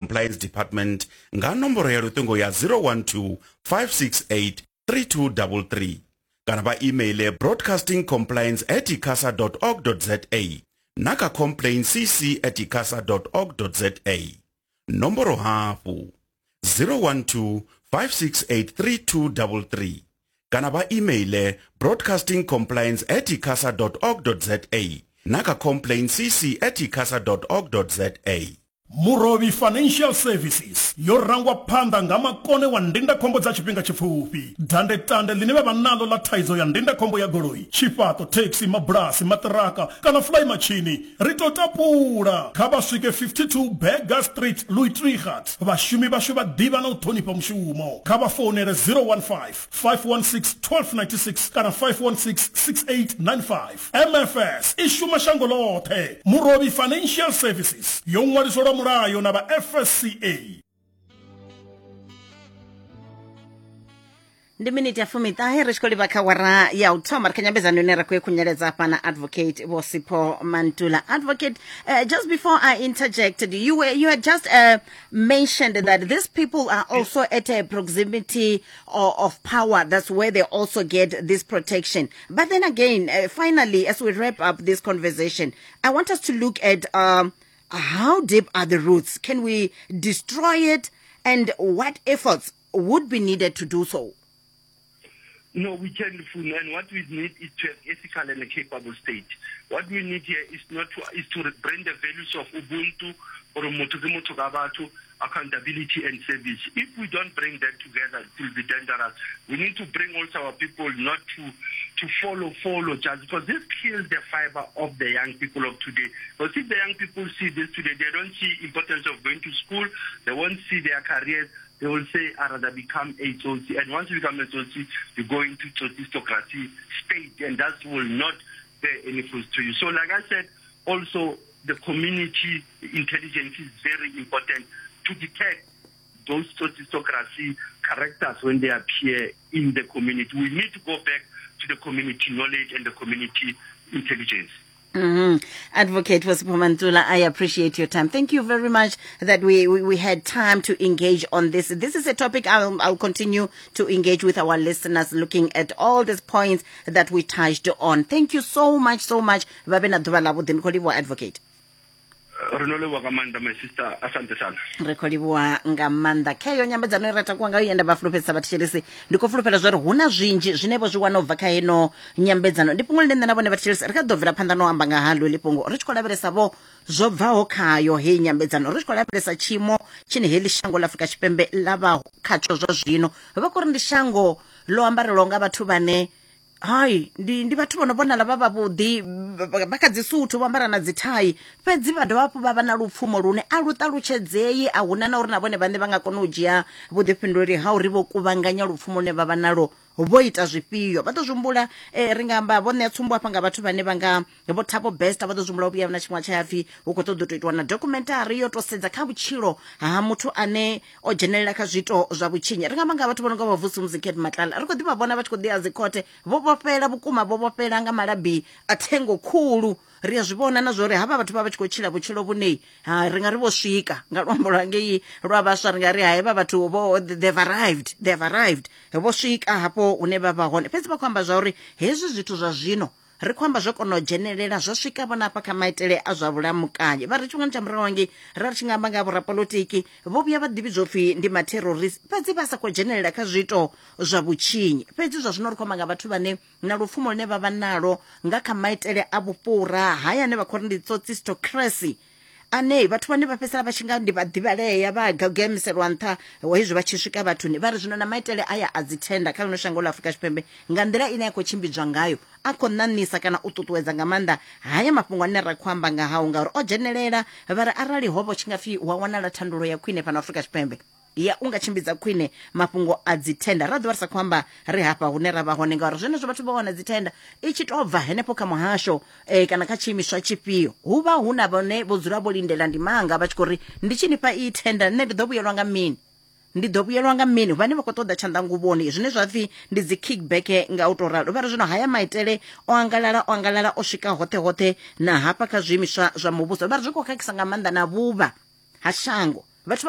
Compliance Department nga nomboro ya luṱingo ya 012 568 3233 kana vha emaile broadcastingcompliance at icasa org za na kha complaintcc at icasa org za. Nomboro hafhu 012 568 3233 kana vha emaile broadcastingcompliance at icasa org za na kha complaintcc at icasa org za. Murovhi Financial Services yo rangwa phanḓa nga makone wa ndindakhombo dza tshifhinga tshipfufhi. Dandetande ḽine vha vha naḽo ḽa thaidzo ya ndindakhombo ya goloi, tshifhaṱo, thekhisi, mabulasi, maṱiraka kana fulaimatshini ri tou tapula. Kha vha swike 52 Burger Street, Louis Trichardt. Vhashumi vhashu vha ḓivha na u ṱhonifha mushumo. Kha vha founele 015 516 1296 kana 516 6895. MFS i shuma shango ḽoṱhe. Murovhi Financial Services yo ṅwaliswa lwa mulayo na vha FSCA. Ndi miniti ya fumiṱahe ri tshi khou livha kha wara ya u thoma ri kha nyambedzano ine ra khou i khunyeledza hafha na Advocate Vho Sipho Mantula. Advocate, just before I interjected, you had just mentioned that these people are also at a proximity of power. That's where they also get this protection. But then again, finally, as we wrap up this conversation, I want us to look at how deep are the roots? Can we destroy it? And what efforts would be needed to do so? No, we can, and what we need is to have ethical and a capable state. What we need here is not to, is to bring the values of Ubuntu or motho ke motho ka batho, accountability and service. If we don't bring that together, it will be dangerous. We need to bring also our people not to follow just because this kills the fiber of the young people of today. Because if the young people see this today, they don't see importance of going to school, they won't see their careers. They will say, I'd rather become a Tsotsi. And once you become a Tsotsi, you go into Tsotsistocracy state, and that will not bear any fruit to you. So like I said, also the community intelligence is very important to detect those Tsotsistocracy characters when they appear in the community. We need to go back to the community knowledge and the community intelligence. Advocate Sipho Mantula, I appreciate your time. Thank you very much that we had time to engage on this. This is a topic I'll continue to engage with our listeners, looking at all these points that we touched on. Thank you so much, so much. Vha vhe na ḓuvha ḽavhuḓi. Ndi khou livhuwa, Advocate. Re no leboga ka maanḓa, my sister, asante sana. Ri khou livhuwa nga maanḓa. Kheyo nyambedzano i ra takuwa ngayo ye nda vha fulufhedzisa vhathetshelesi, ndi khou fulufhela zwa uri hu na zwinzhi zwine vho zwi wana u bva kha heno nyambedzano. Ndi fhungo ḽine nṋe na vhone vhathetshelesi ri kha ḓo bvela phanḓa no amba nga haḽo heḽi fhungo, ri tshi khou lavhelesa vho zwo bvaho khayo heyi nyambedzano, ri tshi khou lavhelesa tshiimo tshine heḽi shango ḽa Afrika Tshipembe ḽa vha khatsho zwa zwino. Vha khou ri ndi shango ḽo ambarelwaho nga vhathu vhane hai ndi vhathu vho no vhonala vha vhavhuḓi, vha kha dzi suthu, vho ambara na dzi thai, fhedzi vha dovha hafhu vha vha na lupfumo lune a lu ṱalutshedzei. A huna na uri na vhone vhaṋe vha nga kona u dzhia vhuḓifhinduleli ha uri vho kuvhanganya lupfumo lune vha vha nalo vho ita zwifhio. Vha ḓo zwi humbula, ri nga amba vho ṋea tsumbo hafha nga vhathu vhane vha nga Vho Thabo Bester, vha ḓo zwi humbula u vhuya na tshiṅwe tsha pfi hu khou ṱoḓa u tou itiwa na documentary yo to sedza kha vhutshilo ha muthu ane o dzhenelela kha zwiito zwa vhutshinyi. Ri nga amba nga vhathu vho no nga vho Vusi Cat Matlala, ri khou ḓi vha vhona vha tshi khou ḓi ya dzikhothe vho vhofhela vhukuma, vho vhofhela nga malabi a thengo khulu. Ri a zwi vhona na zwa uri havha vhathu vha vha tshi khou tshila vhutshilo vhune ha ri nga ri vho swika nga luambo lwa ngei lwa vhaswa, ri nga ri hai vha vhathu vho they've arrived, they've arrived, vho swika hafho hune vha vha hone. Fhedzi vha khou amba zwa uri hezwi zwithu zwa zwino ri khou amba zwo kona u dzhenelela zwa swika vhona hafha kha maitele a zwa vhulamukanyi. Vha ri tshifhingani tsha murahu hangei ra ri tshi nga amba nga vhorapolotiki vho vhuya vha ḓivhidzwa upfhi ndi matherorist, fhedzi vha sa khou dzhenelela kha zwiito zwa vhutshinyi. Fhedzi zwa zwino ri khou amba nga vhathu vhane na lupfumo lune vha vha nalo nga kha maitele a vhufhura haya ane vha khou ri ndi tsotsistocracy, ane vhathu vhane vha fhedzisela vha tshi nga ndi vhaḓivhalea vha gagamiselwa nṱha hezwi vha tshi swika vhathuni. Vha ri zwino na maitele aya a dzi thenda kha ḽino shango ḽa Afrika Tshipembe nga nḓila ine ya khou tshimbidzwa ngayo a khou ṋaṋisa kana u ṱuṱuwedza nga maanḓa haya mafhungo ane ra khou amba nga hao, ngauri o dzhenelela. Vha ri arali ho vha tshi nga pfi hu a wanala thandululo ya khwine fhano Afrika Tshipembe ya u nga tshimbidza khwine mafhungo a dzithenda, ra ḓovha ri sa khou amba ri hafha hune ra vha hone, ngauri zwenezwo vhathu vha wana dzithenda i tshi tou bva henefho kha muhasho kana kha tshiimiswa tshifhio, hu vha hu na vhone vho dzula vho lindela ndimanga vha tshi khou ri ndi tshi ni fha iyi thenda nṋe ndi ḓo vhuyelwa nga mini, ndi ḓo vhuyelwa nga mini. Vhane vha khou ṱoḓa tshanḓanguvhoni zwine zwa pfi ndi dzi kickback nga u tou ralo. Vha ri zwino haya maitele o angalala, o angalala o swika hoṱhe hoṱhe na hafha kha zwiimiswa zwa muvhuso. Vha ri zwi khou khakhisa nga maanḓa na vhuvha ha shango. Vhathu vha